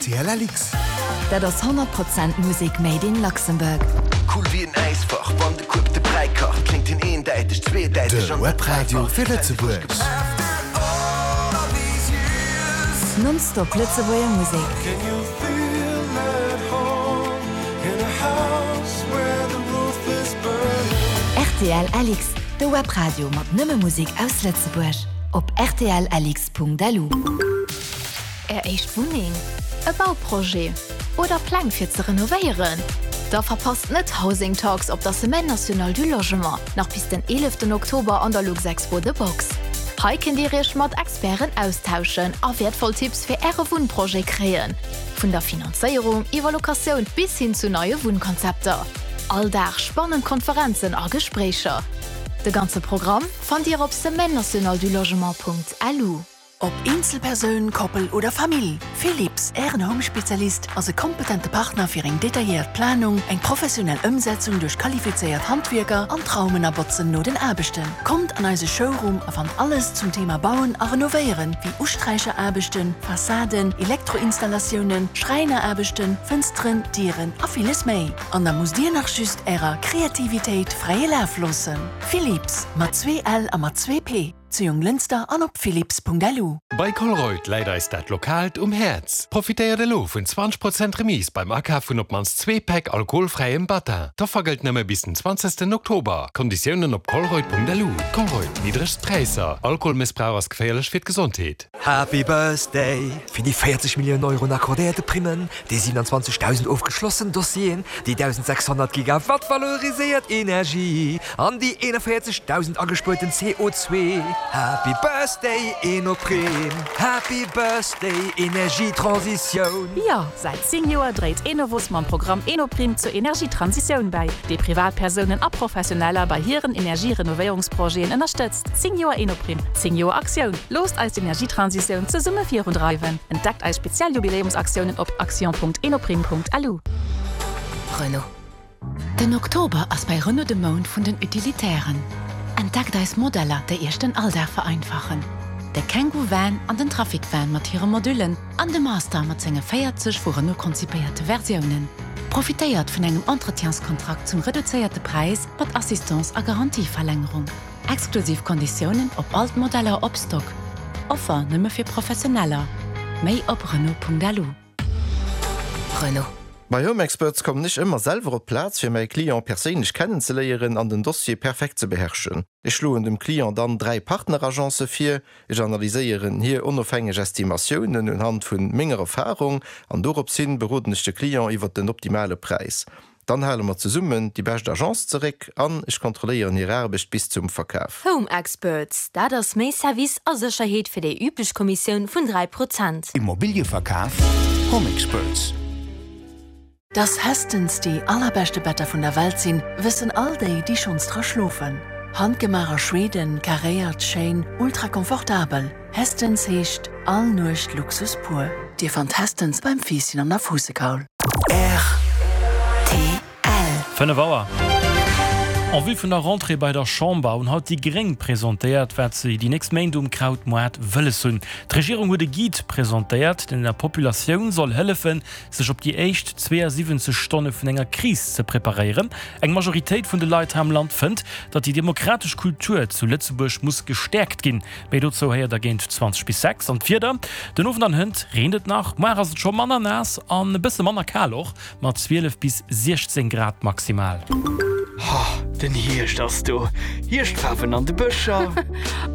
Rtl LX. Dat ass 100 Prozent Musek made in Luxembourg. Cool wéi en Äisfach, wann de Kueb de Bräi kacht, kléngt hien eendäiteg, zweedäiteg De an Webradio fir Lëtzebuerg. Non-stop Lëtzebuerger Musek. Rtl LX, de Webradio mat nëmme Musek aus Lëtzebuerg. Op rtlx.lu. Är éischt Wunneng, e Bauprojet oder Pläng fir ze renovéieren? Da verpasst net Housing Talks op der Semaine Nationale du Logement, nach bis den 11 Oktober an der Luxexpo The Box. Hei kënnt Dir Iech mat Experten austauschen a wäertvoll Tipps fir Äre Wunnprojet kréien, vun der Finanzéierung iwwer Locatioun bis hin zu neie Wunnkonzepter. All Dag spannend Konferenzen a Gespréicher. De ganze Programm fannt Dir op semaine-nationale-du-logement.lu. Ob Eenzelpersoun, Koppel oder Famill, Philips, Ären Home-Spezialist, ass e kompetente Partner fir eng detailléiert Planung, eng professionell Ëmsetzung duerch qualifizéiert Handwierker an d'Raumen a Botzen no den Aarbechten. Kommt an eise Showroom a fannt alles zum Thema Bauen a Renovéieren, wéi Usträicheraarbechten, Fassaden, Elektroinstallatiounen, Schräineraarbechten, Fënsteren, Dieren a villes méi. An da musst Dir nach just Ärer Kreativitéit fräie Laf loossen. Philips, mat zwee L a mat zwee P. Zu Jonglënster an op philips.lu. Bei Colruyt läit eis dat Lokaalt um Häerz. Profitéiert elo vun 20 Prozent Remise beim Akaf vun op d'mannst zwee Päck alkoholfräiem Battin. D'Offer gëllt nëmme bis den 20 Oktober. Konditiounen op colruyt.lu. Colruyt, niddregst Präisser. Alkoholmëssbrauch ass geféierlech fir d'Gesondheet. Happy Birthday! Fir déi 40 Milliounen Euro un accordéierte Primmen, déi 27.000 ofgeschlossen Dossieren, déi 1.600 Gigawatt valoriséiert Energie an déi 41.000 agespuerten CO2. Happy Birthday Enoprime! Happy Birthday Energietransitioun! Jo, säit 10 Joer dréit Enovos mam Programm Enoprime zur Energietransitioun bäi, dee Privatpersounen a Professioneller bei hiren Energierenovéierungsprojeten ënnerstëtzt. 10 Joer Enoprime, 10 Joer Aktioun! Loosst eis d'Energietransitioun zesumme virundreiwen! Entdeckt eis speziell Jubiläumsaktiounen op action.enoprime.lu. Renault. Den Oktober ass bei Renault de Mount vun den Utilitairen. Entdeckt eis Modeller, déi Iech den Alldag vereinfachen. De Kangoo Van an den Trafic Van mat hire Modullen an de Master mat senge 40 vu Renault konzipéierte Versiounen. Profitéiert vun engem Entretienskontrakt zum reduzéierte Präis mat Assistance a Garantieverlängerung. Exklusiv Konditiounen op all d'Modeller op Stock. Offer nëmme fir Professioneller. Méi op Renault.lu. Renault. Bei Home Experts kommen ech ëmmer selwer op d'Plaz fir mäi Client perséinlech kennenzeléieren an den Dossier perfekt ze beherrschen. Ech schloen dem Client dann 3 Partneragencë vir, ech analyséieren hir onofhängeg Estimatiounen unhand vun menger Erfahrung an dorops hin beroden ech de Client iwwert den optimale Präis. Dann hale mer zesummen déi bescht Agence zeréck an ech kontrolléieren hir Aarbecht bis zum Verkaf. Home Experts, dat ass méi Service a Sécherheet fir déi üblech Kommissioun vun 3 Prozent. Immobilieverkaf, Home Experts. Dass Hästens déi allerbeschte Better vun der Welt sinn, wëssen all déi, déi schonns dra schlofen. Handgemaach a Schweden, karéiert, schéin, ultra komfortabel. Hästens heescht all Nuecht Luxus pur. Dir fannt Hästens beim Fiisschen an der Fuussekaul. Rtl. 5 Auer. En vue vun der Rentrée bei der Chamber hunn haut déi Gréng presentéiert, wat se déi nächst Méint um Krautmoart wëlles hunn. D'Regierung huet e Guide presentéiert, deen der Populatioun soll hëllefen, sech op déi éischt 72 Stonne vun enger Kris ze preparéieren. Eng Majoritéit vun de Leit hei am Land fënnt, datt déi demokratesch Kultur zu Lëtzebuerg muss gestäerkt ginn. Méi dozou héiert der géint 20 bis 6. An d'Wieder, Den Owend an hënt reent et nach, muar ass et scho manner naass an e bësse manner kal och, mat 12 bis 16 Grad maximal. Ha, den Hierscht ass do! Hierschtfaarwen an de Bëscher!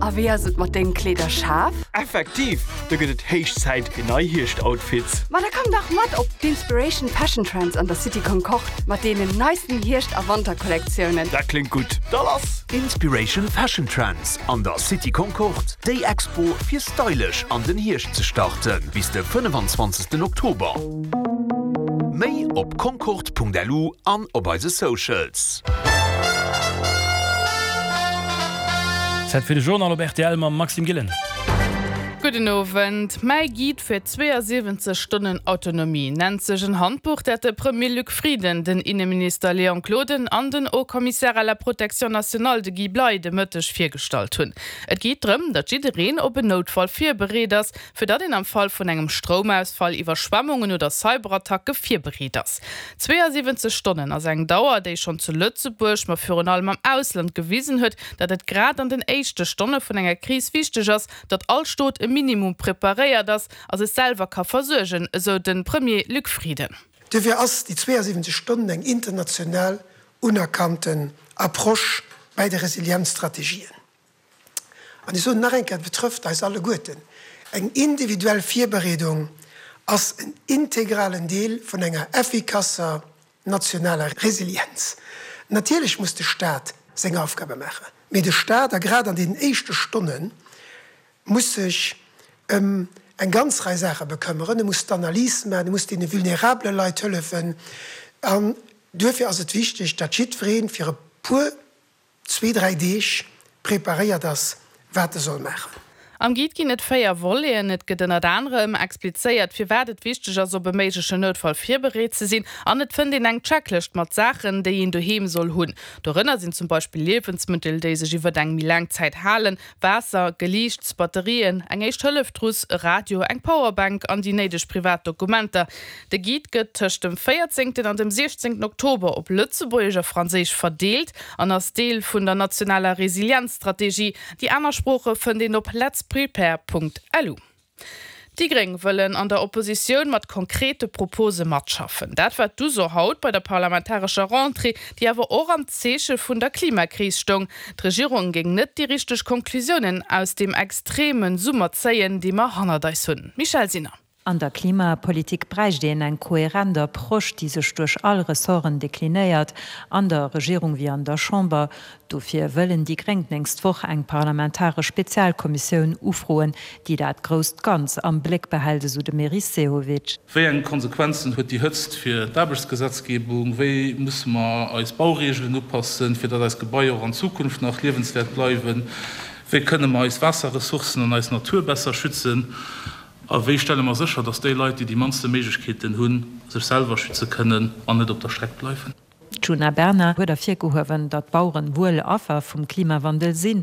A wéi ass et mat dengem Kleederschaf? Effektiv, do gëtt et héich Zäit fir nei Hierschtoutfits! Ma da komm dach mat op d'Inspiration Fashion Trends an der City Concorde mat deenen neisten Hierscht a Wanterkollektiounen! Dat kléngt gutt, da lass! Inspiration Fashion Trends an der City Concorde, déi Expo fir stylesch an den Hierscht ze starten, bis de 25 Oktober. Méi op concorde.lu an op eise Socials. Zäit fir de Journal op rtl mam Maxime Gillen. Gudden Owend. Mäi Guide fir 72 Stonnen Autonomie nennt sech en Handbuch, dat de Premier Luc Frieden, den Inneminister Léon Gloden an den Haut Commissaire à la protection nationale, de Guy Bley, de Mëtteg virgestallt hunn. Et geet drëm, datt jiddereen op en Noutfall virbereet ass, fir datt een am Fall vun engem Stroumausfall, Iwwerschwemmungen oder Cyberattacke virbereet ass. 72 Stonnen ass eng Dauer, déi schonn zu Lëtzebuerg, ma virun allem am Ausland gewisen huet, datt et grad an den éischte Stonne vun enger Kris wichteg ass, datt all Stot e Minimum preparéiert ass a sech selwer ka versuergen, esou de Premier Luc Frieden. Duerfir ass déi 72 Stonnen eng international unerkannten Approche bäi de Resilienzstrategien. An ech soen nach eng Kéier, et betrëfft eis alleguerten, Eng individuell Virbereedung ass en integralen Deel vun enger effikasser nationaler Resilienz. Natierlech muss de Staat seng Aufgabe maachen, mee de Staat, a grad an deenen éischte Stonnen, muss sech ëm eng ganz Rei Saache bekëmmeren. E muss d'Analys maachen, e muss deene vulnerabele Leit hëllefen. An duerfir ass et wichteg, datt jiddweree fir e puer zwee, dräi Deeg preparéiert ass, wat e soll maachen. Am Guide ginn et 4 Voleten. Et gëtt ënnert anerem explizéiert, firwat et wichteg ass, op e méiglechen Noutfall virbereet ze sinn. An et fënnt een eng Checklëscht mat Saachen, déi een doheem soll hunn. Dorënner sinn zum Beispill Liewensmëttel, déi sech iwwert eng méi laang Zäit halen, Waasser, Geliichts, Batterien, eng Éischt-Hëllef-Trousse, e Radio, eng Powerbank an déi néideg privat Dokumenter. De Guide gëtt tëscht dem 14 an dem 16 Oktober op Lëtzebuergesch a Franséisch verdeelt an ass Deel vun der nationaler Resilienzstrategie. Déi aner Sprooche fënnt een op letsprepare.lu. Déi Gréng wëllen an der Oppositioun mat konkrete Propose matschaffen. Dat war d'Uso haut bei der parlamentarescher Rentrée, déi awer och am Zeeche vun der Klimakris stoung. D'Regierung géing net déi richteg Conclusiounen aus deem extreme Summer zéien, dee mer hannert eis hunn. Michèle Sinner. An der Klimapolitik bräicht een eng kohärent Approche, déi sech duerch all Ressorten deklinéiert, an der Regierung wéi an der Chamber. Dofir wëllen déi Gréng d'nächst Woch eng parlamentaresch Spezialkommissioun ufroen, déi dat grousst Ganz am Bléck behält, esou de Meris Sehovic. Wéi eng Konsequenzen huet déi Hëtzt fir d'Aarbechtsgesetzgebung? Wéi musse mer eis Baureegelen upassen, fir datt eis Gebaier och an Zukunft nach liewenswäert bleiwen? Wéi kënne mer eis Waasserressourcen an eis Natur besser schützen? A wéi stelle mer sécher, datt déi Leit, déi déi mannste Méiglechkeeten hunn, sech selwer schütze kënnen an net op der Streck bleiwen? D'Djuna Bernard huet ervirgehuewen, datt d'Baueren wuel Affer vum Klimawandel sinn,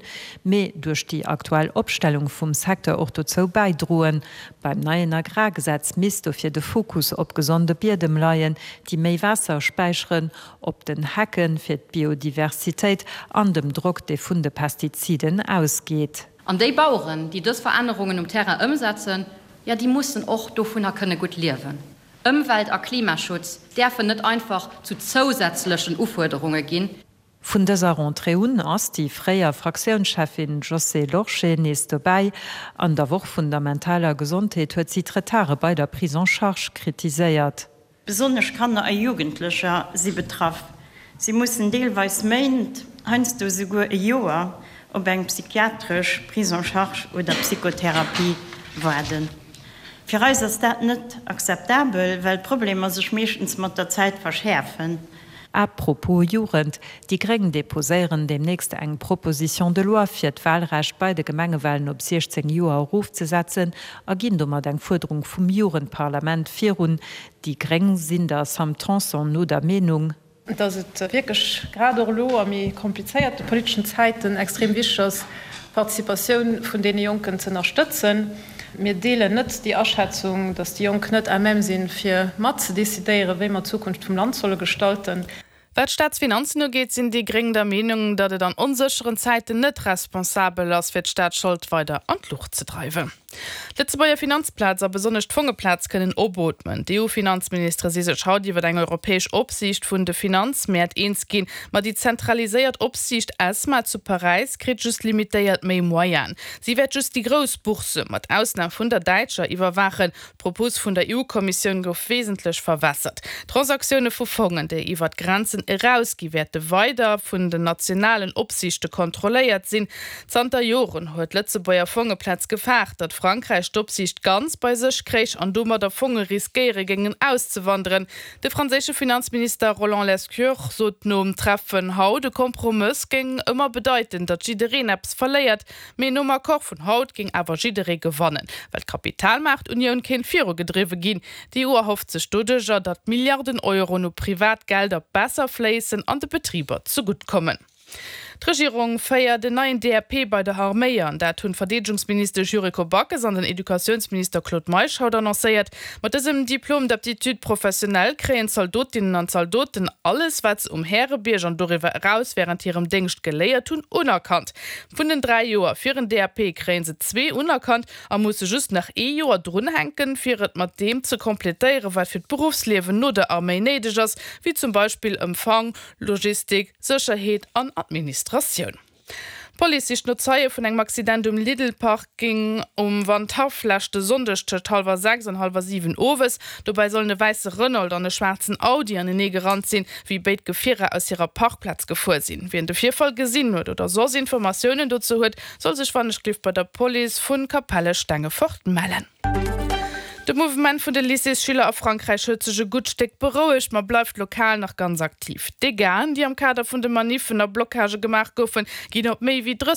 mee duerch déi aktuell Opstellung vum Secteur och dozou bäidroen. Beim neien Agrargesetz misst dofir de Fokus op gesonde Biedem leien, déi méi Waasser späicheren, op den Hecke fir d'Biodiversitéit an dem Drock, dee vun de Pestiziden ausgeet. An déi Baueren, déi dës Verännerungen um Terrain ëmsetzen, jo, déi mussen och dovunner kënne gutt liewen. Ëmwelt a Klimaschutz däerfen net einfach zu zousätzlechen Ufuerderunge ginn. Vun dëser Rentrée un ass déi fréier Fraktiounscheffin Josée Lorsché nees dobäi. An der Woch vun der mentaler Gesondheet huet si d'Retarde bei der Prise en charge kritiséiert. Besonnesch Kanner a Jugendlecher si betraff. Si mussen deelweis Méint, heiansdo esouguer e Joer op eng psychiatresch Prise en charge oder Psychotherapie waarden. Fir eis ass dat net akzeptabel, well d'Problemer sech meeschtens mat der Zäit verschäerfen. A propos Jugend, Déi Gréng deposéieren deemnächst eng Proposition de loi fir d'Wahlrecht bei de Gemengewahlen op 16 Joer erofzesetzen a ginn domat eng Fuerderung vum Jugendparlament virun. Déi Gréng sinn der Sam Tanson no der Meenung, dass et wierklech grad och elo a méi komplizéierte politeschen Zäiten extrem wichteg ass, d'Participatioun vun deene Jonken ze ënnerstëtzen. Mir deelen net déi Aschätzung, dass déi Jonk net à même sinn, fir mat ze decidéieren, wéi mer d'Zukunft vum Land solle gestalten. Wat d'Staatsfinanzen ugeet, sinn déi Gréng der Meenung, datt et an onsécheren Zäiten net responsabel ass, fir d'Staatsschold weider an d'Luucht ze dreiwen. D'Lëtzebuerger Finanzplaz a besonnesch d'Fongeplaz kënnen opootmen. D'EU-Finanzministere si sech haut iwwer eng europäesch Opsiicht vun de Finanzmäert eens ginn. Ma déi zentraliséiert Opsiicht ESMA zu Paräis kritt just limitéiert méi Moyenen. Si wäert just déi grouss Boursse, mat Ausnam vun der däitscher, iwwerwaachen. D'Propos vun der EU-Kommissioun gouf wesentlech verwässert. Transaktioune vu Fongen, déi iwwer d'Grenzen erausgi wäerte weider vun den nationalen Opsiichte kontrolléiert sinn. Zanter Joren huet d'Lëtzebuerger Fongeplaz gefaart, datt. Frankräich d'Opsiicht ganz bei sech kréich an domadder Fonge riskéiere géingen auszewanderen. De franséische Finanzminister Roland Lescure sot nom Treffen haut, e Kompromëss géing ëmmer bedeiten, datt jiddereen eppes verléiert. Mee nom Accord vun haut géing awer jidderee gewannen, well d'Kapitalmaartunioun kéint virugedriwwe ginn. D'EU erhofft sech doduercher, datt Milliarden Euroen u privat Gelder besser fléissen an de Betriber zegutt kommen. D'Regierung féiert en neien DAP bei der Arméi an. Dat hunn d'Verdeedegungsministesch Yuriko Backes an den Educatiounsminister Claude Meisch haut annoncéiert. Mat dësem Diplôme d'aptitude professionnelle kréien d'Zaldotinnen an Zaldoten alles, wat se um Härebierg an doriwwer eraus wärend hirem Déngscht geléiert hunn, unerkannt. Vun den 3 Joer fir en DAP kréien se zwee unerkannt a musse just nach ee Joer drunhänken, fir et mat deem ze completéieren, wat fir d'Beruffsliewen no der Arméi néideg ass, wéi zum Beispill Empfang, Logistik, Sécherheet an Administratioun. D'Police sicht no Zeie vun engem Accident um Lidl-Parking um Wandhaff leschte Sonndeg tëscht hallwer 6 an hallwer 7 owes. Dobäi sollen e wäisse Renault an e schwaarzen Audi anenee gerannt sinn, wéi béid Gefierer aus hirer Parkplaz gefuer sinn. Wien de Virfall gesinn huet oder soss Informatiounen dozou huet, soll sech wannechgelift bei der Police vu Capelle-Stengefort mellen. De Mouvement vun de Lycéesschüler a Frankräich huet sech e gutt Stéck berouegt, ma bleift lokal nach ganz aktiv. D'Dégâten, déi am Kader vun de Maniffen a Blockagë gemaach goufen, ginn op méi wéi 30.